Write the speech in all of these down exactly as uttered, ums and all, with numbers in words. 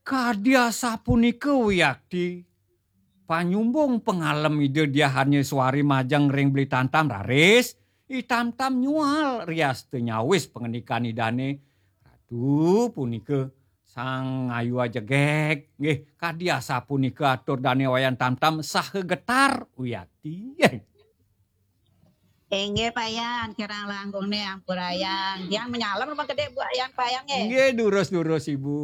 Kadi asapunika wiakti, panyumbung pangalem Ida Diah Arnya Suari majeng ring Beli Tamtam raris, I Tamtam nyual riasta nyawis pangandikan Idane, "Ratu punika Sang Ayu Ajegeg, nggih, kadi asapunika atur dane Wayan Tamtam saha getar wiakti." Inggih, Payan, kirang langkung nih ampurayang. Tiang manyalem rumah gede Bu Ayan Payan, nggih. Nggih, durus-durus, Ibu.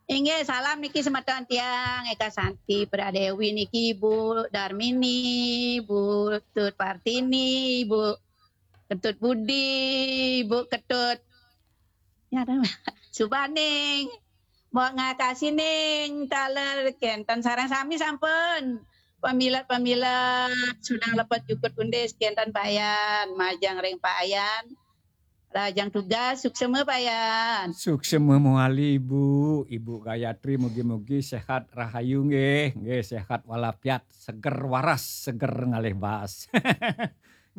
Inggih, salam niki semeton tiang, Eka Santi Pradewi niki, Bu Darmini, Bu Tut Partini, Bu Ketut Budi, Bu Ketut, ya, Subaning, Mbok Ngakasining, taler kenten sareng sami sampun. Pamilet-pamilet, sudang lepet jukut undis, kenten Payan, majeng ring Payan. Rahajeng tugas, suksema Payan. Suksema mawali, Ibu. Ibu Gayatri, mugi-mugi sehat rahayu nggih. Nggih, sehat walafiat, seger waras, seger ngalih baas.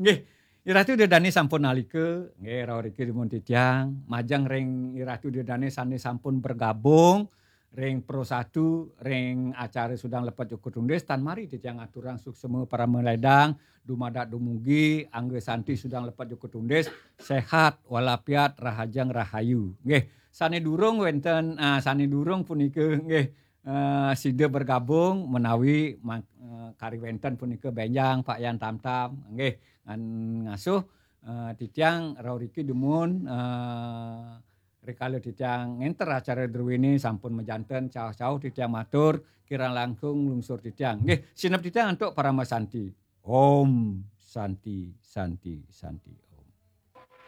Nggih, Iratu Ida Dane sampun nalika, nggih, rauh riki dumun titiang, majeng ring Iratu Ida Dane sane sampun bergabung ring Pro Satu, ring acara Sudang Lepet Jukut Undis, tan mari titiang aturang suksema parama ledang, dumadak dumugi, angga santi Sudang Lepet Jukut Undis, sehat walafiat, rahajeng rahayu. Nggih, sane durung wenten, ah, sane durung punika, nggih, eh, sida bergabung menawi ma-, eh, kari wenten punika benjang Pak Yan Tamtam, nggih, ngan ngasuh, eh, titiang rauh riki dumun, eh, rikala titiang ngenter acara druene sampun majanten, cauh-cauh titiang matur, kirang langkung lungsur titiang. Nggih, sineb titiang antuk parama santi. Om Santi, Santi, Santi.